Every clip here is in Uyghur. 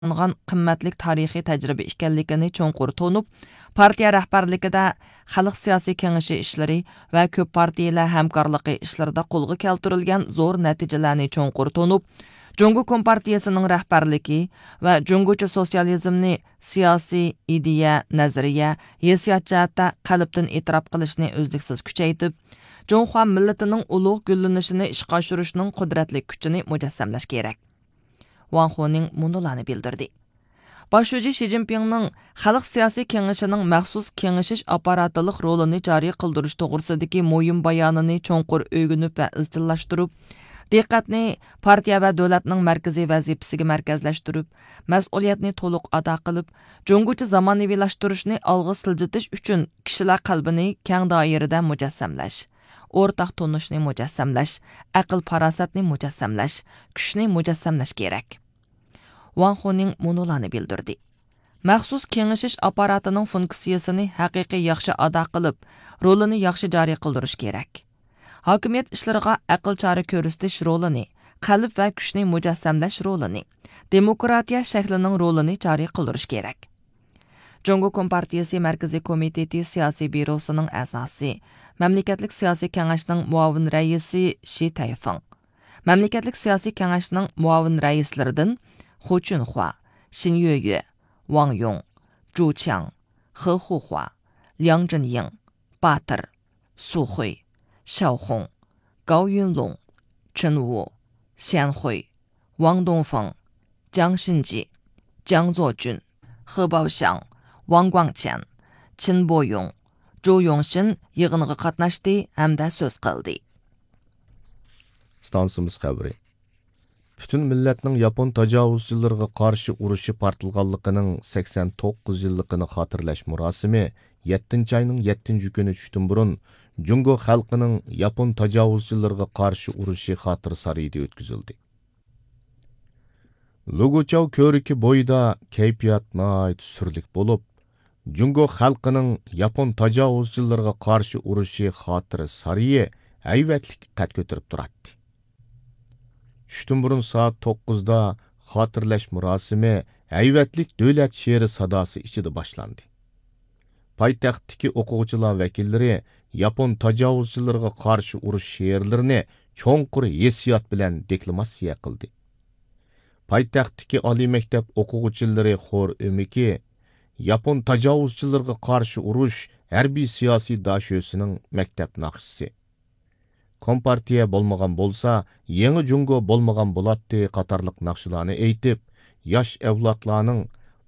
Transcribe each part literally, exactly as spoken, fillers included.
قازانغان قىممەتلىك تارىخىي تەجرىبە ئىكەنلىكىنى چوڭقۇر تونۇپ، پارتىيە رەھبەرلىكىدە خەلق سىياسىي كېڭىشى ئىشلىرى ۋە كۆپ پارتىيىلەر ھەمكارلىقى ئىشلىرىدا قولغا كەلتۈرۈلگەن زور نەتىجىلەرنى چوڭقۇر تونۇپ، جۇڭگو كومپارتىيىسىنىڭ رەھبەرلىكى ۋە جۇڭگوچە سوتسىيالىزمنى سىياسىي، ئىدىيە، نەزەرىيە، ھېسسىيات جەھەتتە قەلبتىن ئېتىراپ قىلىشنى ئۈزلۈكسىز كۈچەيتىپ، جۇڭخۇا مىللىتىنىڭ ئۇلۇغ گۈللىنىشىنى ئىشقا ئاشۇرۇشنىڭ قۇدرەتلىك كۈچىنى مۇجەسسەملەش كېرەك. ۋاڭ خۇنىڭ مۇنۇلارنى بىلدۈردى. باش شۇجى شى جىنپىڭنىڭ خەلق سىياسىي كېڭىشىنىڭ مەخسۇس كېڭىشىش ئاپپاراتلىق رولىنى جارى قىلدۇرۇش توغرىسىدىكى مۇھىم بايانىنى چوڭقۇر ئۆگىنىپ ۋە ئىزچىللاشتۇرۇپ، دىققەتنى پارتىيە ۋە دۆلەتنىڭ مەركىزىي ۋەزىپىسىگە مەركەزلەشتۈرۈپ، مەسئۇلىيەتنى تولۇق ئادا قىلىپ، جۇڭگوچە زامانىۋىلاشتۇرۇشنى ئالغا سىلجىتىش ئۈچۈن كىشىلەر قەلبىنى كەڭ دائىرىدە مۇجەسسەملەش، ئورتاق تونۇشنى مۇجەسسەملەش، ئەقىل-پاراسەتنى مۇجەسسەملەش، كۈچنى مۇجەسسەملەش كېرەك. ۋاڭ خۇنىڭ مۇنۇلارنى بىلدۈردى. مەخسۇس كېڭىشىش ئاپپاراتىنىڭ فۇنكسىيىسىنى ھەقىقىي ياخشى ئادا قىلىپ، رولىنى ياخشى جارى قىلدۇرۇش كېرەك. ھاكىمىيەت ئىشلىرىغا ئەقىل چارە كۆرسىتىش رولىنى، قەلب ۋە كۈچنى مۇجەسسەملەش رولىنى، دېموكراتىيە شەكلىنىڭ رولىنى جارى قىلدۇرۇش كېرەك. جۇڭگو كومپارتىيىسى مەركىزىي كومىتېتى سىياسىي بيۇروسىنىڭ ئەزاسى، مەملىكەتلىك سىياسىي كېڭەشنىڭ مۇئاۋىن رەئىسى شى تەيفېڭ، مەملىكەتلىك سىياسىي كېڭەشنىڭ مۇئاۋىن رەئىسلىرىدىن خۇ چۈنخۇا، شىن يۆيۆ، ۋاڭ يۇڭ، جۇ چياڭ، خې خۇخۇا، لياڭ جىنيىڭ، باتىر، سۇ خۇي، شياۋ خۇڭ، گاۋ يۈنلۇڭ، چېن ۋۇ، شيەن خۇي، ۋاڭ دۇڭفېڭ، جياڭ شىنجى، جياڭ زوجۈن، خې باۋشياڭ، ۋاڭ گۇاڭچيەن، چېن بويۇڭ، جۇ يۇڭشىن يىغىنغا قاتناشتى ھەمدە سۆز قىلدى. ئىستانسىمىز خەۋىرى. پۈتۈن مىللەتنىڭ ياپون تاجاۋۇزچىلىرىغا قارشى ئۇرۇشى پارتلىغانلىقىنىڭ سەكسەن توققۇز يىللىقىنى خاتىرىلەش مۇراسىمى يەتتىنچى ئاينىڭ يەتتىنچى كۈنى چۈشتىن بۇرۇن جۇڭگو خەلقىنىڭ ياپون تاجاۋۇزچىلىرىغا قارشى ئۇرۇشى خاتىرە سارىيىدا ئۆتكۈزۈلدى. لۇگۇچاۋ كۆۋرۈكى بويىدا كەيپىيات ناھايىتى سۈرلۈك بولۇپ، جۇڭگو خەلقىنىڭ ياپون تاجاۋۇزچىلىرىغا قارشى ئۇرۇشى خاتىرە سارىيى ھەيۋەتلىك قەد كۆتۈرۈپ تۇراتتى. چۈشتىن بۇرۇن سائەت توققۇزدا خاتىرىلەش مۇراسىمى ھەيۋەتلىك دۆلەت شېئىرى ساداسى ئىچىدە باشلاندى. پايتەختتىكى ئوقۇغۇچىلار ۋەكىللىرى ياپون تاجاۋۇزچىلىرىغا قارشى ئۇرۇش شېئىرلىرىنى چوڭقۇر ھېسسىيات بىلەن دېكلاماتسىيە قىلدى. پايتەختتىكى ئالىي مەكتەپ ئوقۇغۇچىلىرى خور ئۆمىكى ياپون تاجاۋۇزچىلىرىغا قارشى ئۇرۇش ھەربىي سىياسىي داشۆسىنىڭ مەكتەپ ناخشىسى، كومپارتىيە بولمىغان بولسا، يېڭى جۇڭگو بولمىغان بولاتتى قاتارلىق ناخشىلارنى ئېيتىپ، ياش ئەۋلادلارنىڭ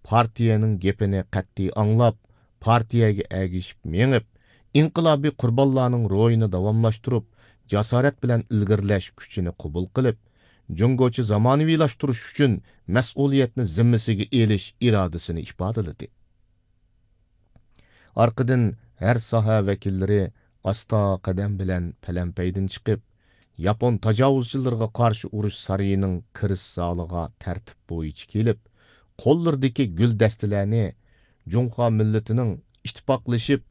پارتىيەنىڭ گېپىنى قەتئىي ئاڭلاپ، پارتىيەگە ئەگىشىپ مېڭىپ، ئىنقىلابىي قۇربانلارنىڭ روھىنى داۋاملاشتۇرۇپ، جاسارەت بىلەن ئىلگىرىلەش كۈچىنى قوبۇل قىلىپ، جۇڭگوچە زامانىۋىلاشتۇرۇش ئۈچۈن مەسئۇلىيەتنى زىممىسىگە ئېلىش ئىرادىسىنى ئىپادىلىدى. ئارقىدىن ھەر ساھە ۋەكىللىرى ئاستا قەدەم بىلەن پەلەمپەيدىن چىقىپ، ياپون تاجاۋۇزچىلىرىغا قارشى ئۇرۇش سارىيىنىڭ كىرىش زالىغا تەرتىپ بويىچە كېلىپ، قوللىرىدىكى گۈل دەستىلەرنى جۇڭخۇا مىللىتىنىڭ ئىتتىپاقلىشىپ،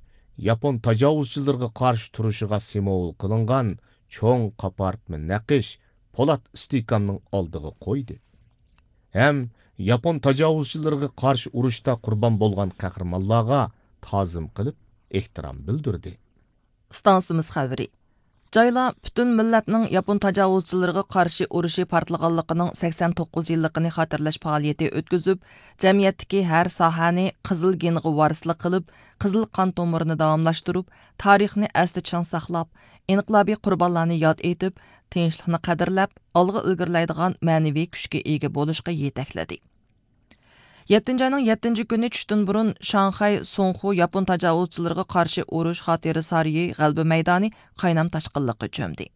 ياپون تاجاۋۇزچىلىرىغا قارشى تۇرۇشىغا سىمۋول قىلىنغان چوڭ قاپارتما نەقىش پولات ئىستىكاننىڭ ئالدىغا قويدى ھەم ياپون تاجاۋۇزچىلىرىغا قارشى ئۇرۇشتا قۇربان بولغان قەھرىمانلارغا تازىم قىلىپ، ئېھتىرام بىلدۈردى. ئىستانسىمىز خەۋىرى. جايلار پۈتۈن مىللەتنىڭ ياپون تاجاۋۇزچىلىرىغا قارشى ئۇرۇشى پارتلىغانلىقىنىڭ سەكسەن توققۇز يىللىقىنى خاتىرىلەش پائالىيىتى ئۆتكۈزۈپ، جەمئىيەتتىكى ھەر ساھەنى قىزىل گېنغا ۋارىسلىق قىلىپ، قىزىل قان تومۇرىنى داۋاملاشتۇرۇپ، تارىخنى ئەستە چىڭ ساقلاپ، ئىنقىلابىي قۇربانلارنى ياد ئېتىپ، تىنچلىقنى قەدىرلەپ، ئالغا ئىلگىرىلەيدىغان مەنىۋى كۈچكە ئىگە بولۇشقا يېتەكلىدى. يەتتىنچى ئاينىڭ يەتتىنچى كۈنى چۈشتىن بۇرۇن شاڭخەي سۇڭخۇ ياپون تاجاۋۇزچىلىرىغا قارشى ئۇرۇش خاتىرە سارىيى غەلىبە مەيدانى قاينام تاشقىنلىققا چۆمدى.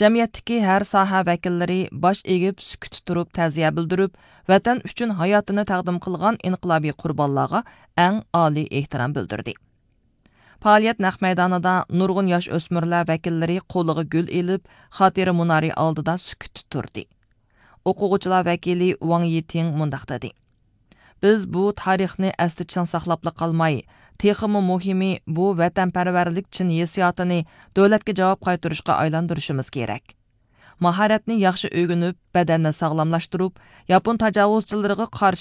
جەمئىيەتتىكى ھەر ساھە ۋەكىللىرى باش ئېگىپ، سۈكۈتتە تۇرۇپ تەزىيە بىلدۈرۈپ، ۋەتەن ئۈچۈن ھاياتىنى تەقدىم قىلغان ئىنقىلابىي قۇربانلارغا ئەڭ ئالىي ئېھتىرام بىلدۈردى. پائالىيەت نەق مەيدانىدا نۇرغۇن ياش ئۆسمۈرلەر ۋەكىللىرى قولىغا گۈل ئېلىپ، خاتىرە مۇنارى ئالدىدا سۈكۈتتە تۇردى. ئوقۇغۇچىلار ۋەكىلى ۋاڭ يىتىڭ مۇنداق دېدى: بىز بۇ تارىخنى ئەستە چىڭ ساقلاپلا قالماي، تېخىمۇ مۇھىمى، بۇ ۋەتەنپەرۋەرلىك چىن ھېسسىياتىنى دۆلەتكە جاۋاب قايتۇرۇشقا ئايلاندۇرۇشىمىز كېرەك. ماھارەتنى ياخشى ئۆگىنىپ، بەدەننى ساغلاملاشتۇرۇپ، ياپون تاجاۋۇزچىلىرىغا قارشى